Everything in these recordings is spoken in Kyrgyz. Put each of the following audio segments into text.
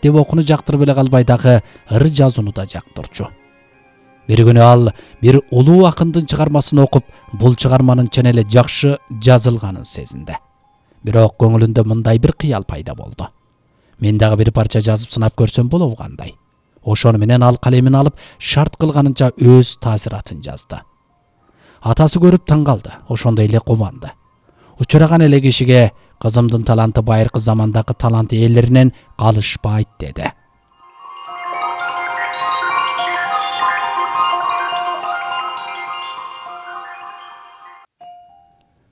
китеп окууну жактырып эле калбай дагы ыр жазууну да жактырчу. Бир күнү ал бир улуу акындын чыгармасын окуп, бул чыгарманын чын эле жакшы жазылганын сезинди. Бирок көңүлүндө мындай бир кыял пайда болду. Мен дагы бир парча жазып сынап көрсөм болобу кандай? Ошону менен ал калемин алып, шарт кылганынча өз таасиратын жазды. Атасы көрүп таң калды, ошондой эле кубанды. Учураган эле кишиге кызымдын таланты байыркы замандагы талант ээлеринен калышпайт деди.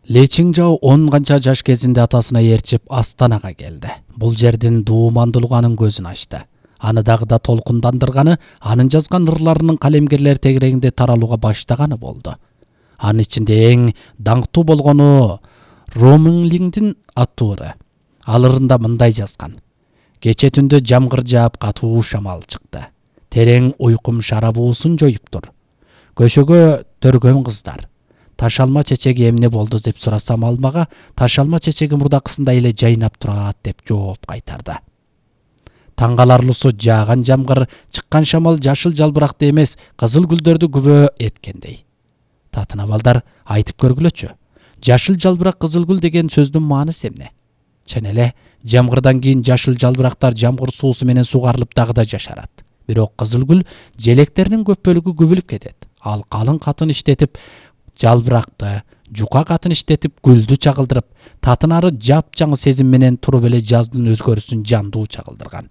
Ли Чинжао 10 канча жаш кезинде атасына ээрчип Астанага келди. Бул жердин дуумандуулугунун көзүн ачты. Аны дагы да толкундандырганы анын жазган ырларынын калемгерлер тегерегинде таралууга баштаганы болду. Анын ичинде эң даңктуу болгону Роминлиңдин аттуу ыры. Ал ырында мындай жазган: кече түндө жамгыр жаап катуу шамал чыкты. Терең уйкум шарабуусун жоюптур. Көшөгө төргөн кыздар. Ташалма чечеги эмне болду деп сурасам, ал мага ташалма чечеги мурдакысындай эле жайнап турат деп жооп кайтарды. Таң каларлуусу жааган жамгыр, чыккан шамал жашыл жалбыракты эмес, кызыл гүлдөрдү күбө эткендей. Татына балдар, айтып көргүлөчү. Жашыл жалбырак, кызыл гүл деген сөздүн маанысы эмне? Чын эле, жамгырдан кийин жашыл жалбырактар жамгыр суусу менен сугарылып дагы да жашарат. Бирок кызыл гүл желектеринин көп бөлүгү күбүлүп кетет. Ал калың катын иштетип, жалбыракты, жука катын иштетип, гүлдү чагылдырып, татынары жапжаңы сезим менен туруп эле жаздын өзгөрүүсүн жандуу чагылдырган.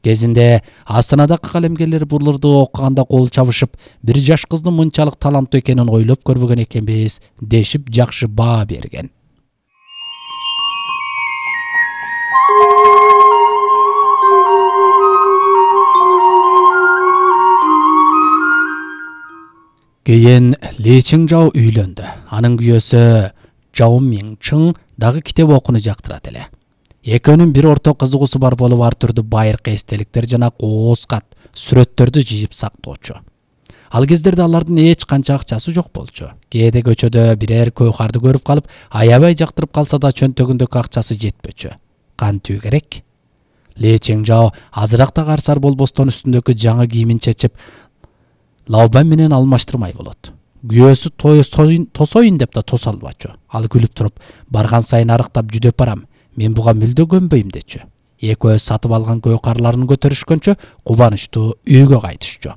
Кезинде Астанадагы калемгерлер бул ырды окуганда кол чабышып, бир жаш кыздын мынчалык таланттуу экенин ойлоп көрбөгөн экенбиз дешип жакшы баа берген. Кийин Ли Чинжао үйлөндү. Анын күйөөсү Жао Минчың дагы китеп окууну жактырат эле. Экөөнүн бир орто кызыгуусу бар болуп, ар түрдүү байыркы эстеликтер жана кооз кат, сүрөттөрдү жыйып сактоочу. Ал кездерде алардын эч канча акчасы жок болчу. Кээде көчөдө бирер көйкарды көрүп калып, аябай жактырып калса да чөнтөгүндөгү акчасы жетпөчү. Кантүү керек? Ли Чинжао азыраак да карсар болбостон үстүндөгү жаңы кийимин чечип, Лаобан менен алмаштырмай болот. Күйөөсү тосоюн деп да тоса албачу. Ал күлүп туруп, барган сайын арыктап жүдөп барам. Мен буга мүлдө көнбөйм дечү. Экөө сатып алган көйкарларын көтөрүшкөнчө кубанычтуу үйгө кайтышчу.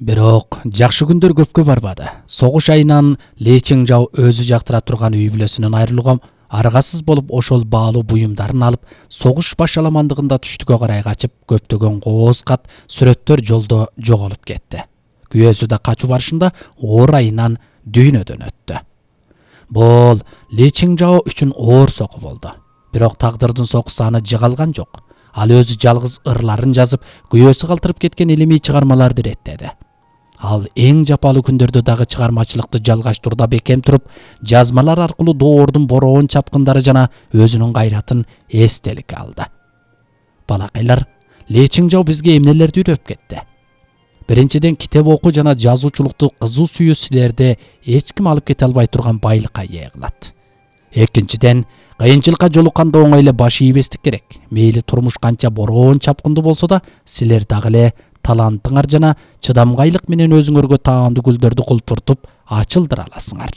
Бирок жакшы күндөр көпкө барбады. Согуш айынан Ли Чинжао өзү жактыра турган үй бүлөсүнөн айрылууга аргасыз болуп, ошол баалуу буюмдарын алып, согуш башаламандыгында түштүккө карай качып, көптөгөн кооз кат, сүрөттөр жолдо жоголуп кетти. Күйөөсү да качуу барышында оор айынан дүйнөдөн өттү. Бул Ли Чинжао үчүн оор сокку болду. Бирок тагдырдын сокусу аны жыгалган жок. Ал өзү жалгыз ырларын жазып, күйөөсү калтырып кеткен илимий чыгармаларды иреттеди. Ал эң жапалуу күндөрдө дагы чыгармачылыкты жалгаштырууда бекем туруп, жазмалар аркылуу доордун бороон чапкындары жана өзүнүн кайратын эстеликке алды. Балакайлар, Ли Чинжао бизге эмнелерди үйрөтүп кетти? Биринчиден, китеп окуу жана жазуучулукту кызуу сүйүү силерде эч ким алып кете албай турган байлыкка ээ кылат. Экинчиден, кыйынчылыкка жолукканда оңой эле баш ийбестик керек. Мейли турмуш канча бороон чапкындуу болсо да, силер дагы эле талантыңар жана чыдамгайлык менен өзүңөргө таандуу гүлдөрдү кулпуртуп ачылдыра аласыңар.